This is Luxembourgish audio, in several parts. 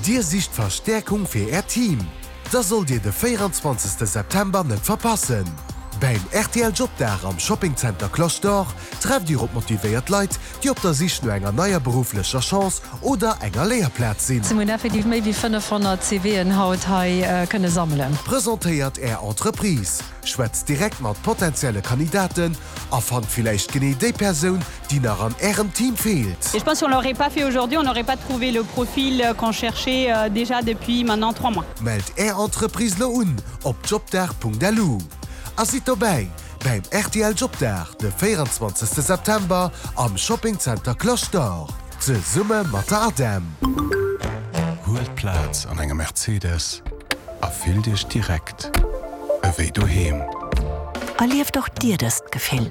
Dir sicht Verstäerkung fir Äert Team? Da sollt Dir de 24 September net verpassen! Bäim rtl Jobdag am Shopping Center Cloche d'Or trefft Dir op motivéiert Leit, déi op der Sich no enger neier berufflecher Chance oder enger Léierplaz sinn. Mir hunn effektiv méi wéi 500 CVen haut hei kënne sammelen. Presentéiert Är Entreprise, schwätzt direkt mat potenzielle Kandidaten a fannt villäicht genee déi Persoun, déi nach an Ärem Team feelt. Et je pense si on l'aurait pas fait aujourd'hui, on n'aurait pas trouvé le profil qu'on cherchait déjà depuis maintenant 3 mois. Mellt Är Entreprise lo un op jobdag.lu a sidd dobäi bäim rtl Jobdag de 24 September am Shopping Center Cloche d'Or zesumme mat der ADEM. Huelt Plaz an engem Mercedes a fillt Iech direkt ewéi doheem. Erlieft och Dir dëst Gefill!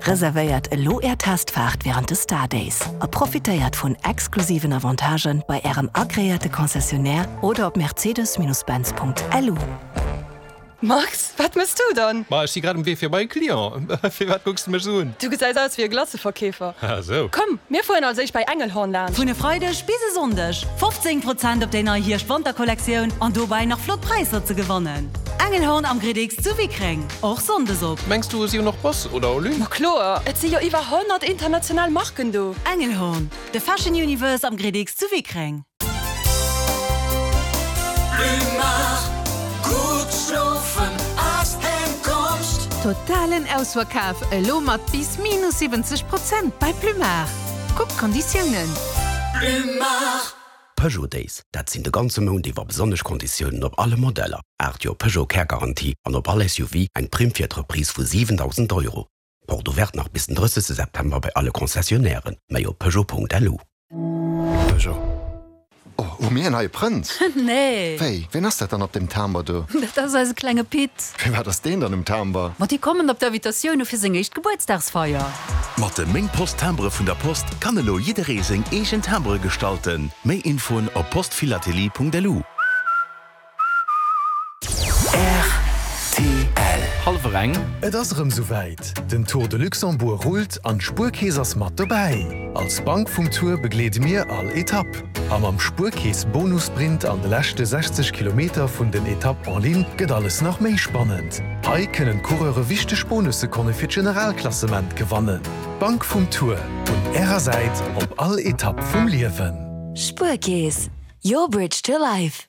Reservéiert elo Är Testfaart wärend de Star Days a profitéiert vun exklusiven Avantagen bei Ärem agreéierte Concessionnaire oder op mercedes-benz.lu. Max, wat mëss du dann? Ma ech si grad um Wee fir bei e Client. Firwat kucks de mech esou un? Du gesäis aus wéi e Glaceverkeefer. Ah sou. Komm, mir fueren als éischt bei Engelhorn laanscht. Vun e Freideg bis e Sonndeg 15 Prozent op déi nei Hierscht-Wanter-Kollektioun an dobäi nach flott Präisser ze gewannen. Engelhorn am Gridix zu Wickreng, och Sonndes op. Mengs du si hunn och Boss oder Olymp? Ma kloer, et si jo iwwer 100 international Marken do. Engelhorn, de Fashion Universe am Gridix zu Wickreng. Totalen Ausverkaf elo mat bis minus 70 Prozent bei Plumard. Kuck d'Konditiounen. Peugeot Days, dat sinn de ganze Mount iwwer besonnesch Konditiounen op alle Modeller, 8 Joer Peugeot Kärgarantie an op all SUV eng Primm fir d'Reprise vu 7.000 Euro. Porte ouverte nach bis den 30 September bei alle Concessionnairen, méi op Peugeot.lu. Peugeot. Oh, hu mir en neie Prënz? Nee. Wéi, ween ass dat dann op deem Timber do? Dat ass eise klenge Pit. Firwat ass deen dann um Timber? Ma déi kommen op d'Invitatioun u fir seng éischt Gebuertsdagsfeier. Mat de Meng Post Timbere vun der Post kann elo jidderee seng eegen Timbere gestalten. Méi Infoen op postphilatelie.lu. Rtl. Hallwer eng. Et ass erëm souwäit, den Tour de Luxembourg rullt an d'Spuerkeess ass mat dobäi! Als Bank vum Tour begleede mir all Etapp. A mam Spuerkeess Bonussprint an de leschte 60 Kilometer vun den Etapp en ligne gëtt alles nach méi spannend. Hei kënnen d'Coureure wichteg Bonussekonne fir d'Generalklassement gewannen. D'Bank vum Tour, un Ärer Säit op all Etapp vum Liewen. Spuerkeess, your bridge to life.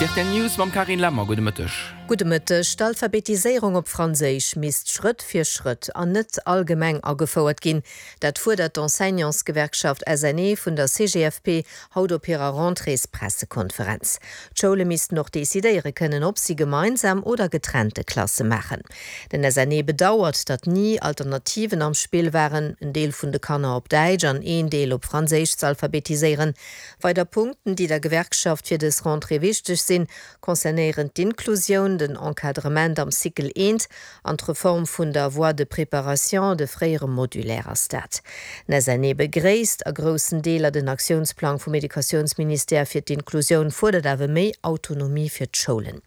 D'RTL News mam Carine Lemmer, Gudde Mëtteg. Gudde Mëtteg. D'Alphabetiséierung op Franséisch misst Schrëtt fir Schrëtt an net allgemeng agefouert ginn. Dat fuerdert d'Enseignantsgewerkschaft SNE vun der CGFP haut op hirer Rentréespressekonferenz. D'Schoule missten och decidéiere kënnen, ob si gemeinsam oder getrennte Klasse maachen. Den SNE bedauert, datt ni Alternativen am Spill waren, en Deel vun de Kanner op Däitsch an een Deel op Franséisch z'alphabetiséieren. Weider Punkten, déi der Gewerkschaft fir dës Rentrée wichteg sinn, concernéieren d'Inklusioun, den Encadrement am Cycle eent an d'Reform vun der Voie de préparation, de fréiere Modulaire ass dat. Den SNE begréisst a groussen Deeler den Aktiounsplang vum Educatiounsministère fir d'Inklusioun, fuerdert awer méi Autonomie fir d'Schoulen.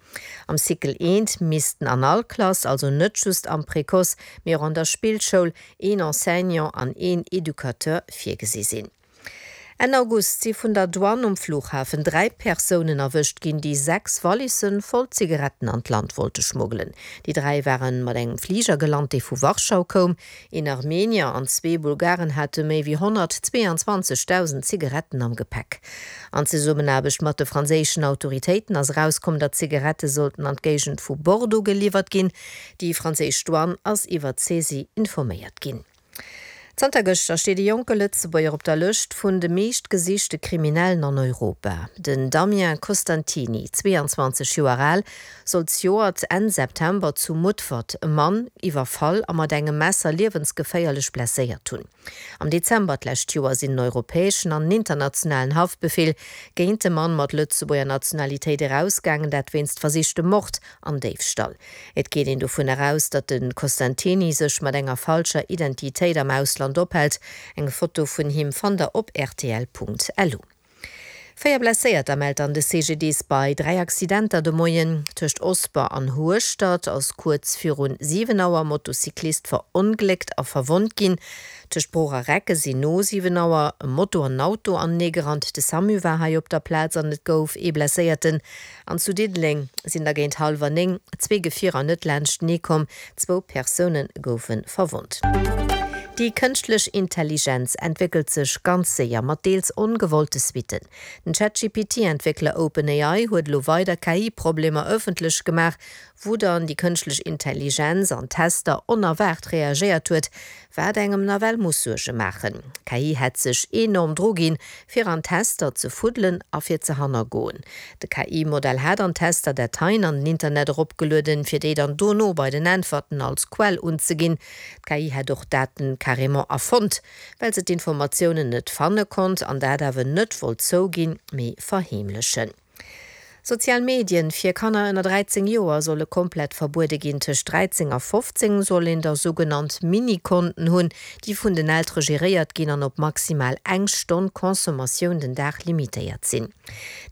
Am Cycle eent missten an all Klass, also net just am Précoce, mee och an der Spillschoul, een Enseignant an een Educateur virgesi sinn. Enn August si vun der Douane um Flughafen 3 Persounen erwëscht ginn, déi 6 Wallisse voll Zigaretten an d'Land wollte schmuggelen. Déi 3 ware mat engem Fliger gelant, dee vu Warschau koum. Een Armenier an zwee Bulgaren hate méi wéi 122.000 Zigaretten am Gepäck. An Zesummenaarbecht mat de franséischen Autoritéiten ass erauskomm, datt d'Zigarette sollten an d'Géigend vu Bordeaux geliwwert ginn. Déi franséisch Douane ass iwwer d'Saisie informéiert ginn. Zanter gëschter steet e jonke Lëtzebuerger op der Lëscht vun de meescht gesichte Kriminellen an Europa. Den Damien Costantini, 22 Joer al, soll zejoert Enn September zu Mutfert e Mann iwwerfall a mat engem Messer liewensgeféierlech blesséiert hunn. Am Dezember d'lescht Joer sinn en europäeschen an en internationalen Haftbefeel géint de Mann mat Lëtzebuerger Nationalitéit erausgaangen, dat wéinst versichtem Mord an Déifstall. Et geet een dovun eraus, datt de Costantini sech mat enger falscher Identitéit am Ausland ophält. Eng Foto vun him fannt der op rtl.lu. 4 Blesséierter mellt dann de CGDIS bei 3 Accidenter de Moien. Tëscht Osper an Hueschtert ass kuerz virun 7 Auer e Motocyclist verongléckt a verwonnt ginn. Tëscht Bruch a Recke sinn no 7 Auer e Moto an en Auto aneneegerannt. De Samu war hei op der Plaz an et gouf ee Blesséierten. An zu Diddeleng sinn da géint hallwer 9 zwee Gefierer net laanschtenee komm, zwou Persoune goufe verwonnt. Déi kënschtlech Intelligenz entwéckelt sech ganz séier, mat deels ongewollte Suitten. Den ChatGPT-Entwéckler OpenAI huet elo weider KI-Problemer ëffentlech gemaach, wou dann déi kënschtlech Intelligenz an Tester onerwaart reagéiert huet, Wat engem nawell muss Suerge maachen, D'KI hätt sech enorm dru ginn, fir an Tester ze fuddelen a fir ze hannergoen. De KI-Modell hat an Tester Dateien an den Internet eropgelueden, fir déi dann dono bei den Äntwerten als Quell unzeginn. D'KI hätt och Daten carrément erfonnt, well se d'Informatiounen net fanne konnt an dat awer net wollt zouginn, mee verheemlechen. Sozial Medien fir Kanner ënner 13 Joer solle komplett verbuede ginn. Tëscht 13 a 15 soll een da sougenannt Mini-Konten hunn, déi vun den Eltere geréiert ginn an op maximal eng Stonn Consommatioun den Dag limitéiert sinn.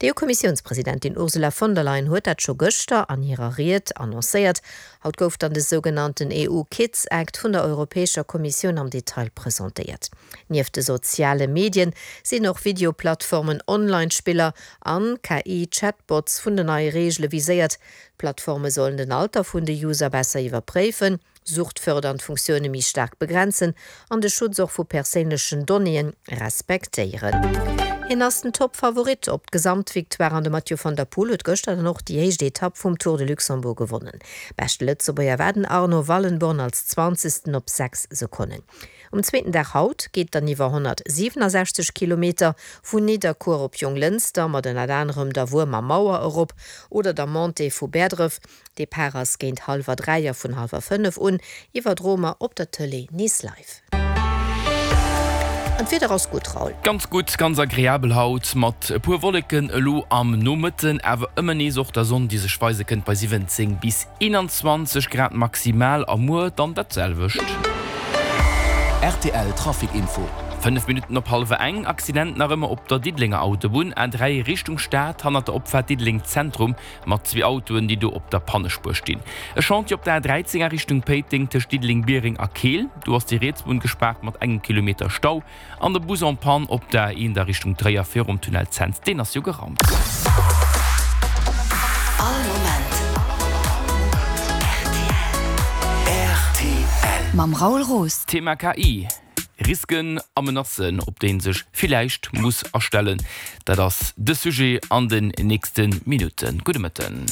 D'EU-Kommissiounspresidentin Ursula von der Leyen huet dat scho gëschter an hirer Ried annoncéiert. Haut gouf dann de sougenannten EU Kids Act vun der Europäescher Kommissioun am Detail presentéiert. Nieft de soziale Medien sinn och Videoplattformen, Online-Spiller an KI-Chatbots vun den neie Reegele viséiert. D'Plattforme sollen den Alter vun de User besser iwwerpréifen, suchtfördernd Funktioune méi staark begrenzen an de Schutz och vu perséinlechen Donnéeë respektéieren. Hien ass den Toppfavorit op d'Gesamtvictoire an de Mathieu van der Poel huet gëschter dann och déi éischt Etapp vum Tour de Luxembourg gewonnen. Beschte Lëtzebuerger war den Arno Wallenborn als Zwanzegsten op 6 Sekonnen. Um zweeten Dag haut geet dann iwwer 167 Kilometer vun Nidderkuer op Jonglënster mat ënnert anerem der Wuermer Mauer erop oder der Montée vu Bäerdref. Depart ass géint hallwer 3 a vun hallwer 5 un iwwerdroe mer op der Tëlee nees live. An d'Wieder ass gutt, Raoul. Ganz gutt, ganz agreabel haut mat e puer Wolleken elo am Nomëtten, awer ëmmer nees och der Sonn, déi sech weise kënnt bei 17 bis 21 Grad maximal a muer dann dat selwecht. Rtl Trafic Info. 5 Minutten op hallwer eng, Accident nach ëmmer op der Diddelenger Autobunn, A3 Richtung Stad, hannert der Opfaart Diddeleng Zentrum, mat zwee Autoen, déi do op der Pannespuer stinn. E Chantier op der A13 a Richtung Péiteng, tëscht Diddeleng-Biereng a Keel, do ass déi riets Bunn gespaart mat engem Kilometer Stau. An de Bus en panne op der A1 a Richtung Tréier virum Tunnel Cents, deen ass jo geraumt. All Moment rtl. Mam Raoul Roos. Thema KI, Risken a Menacen, op déi een sech villäicht muss astellen, dat ass de Sujet an den nächste Minutten. Gudde Mëtten.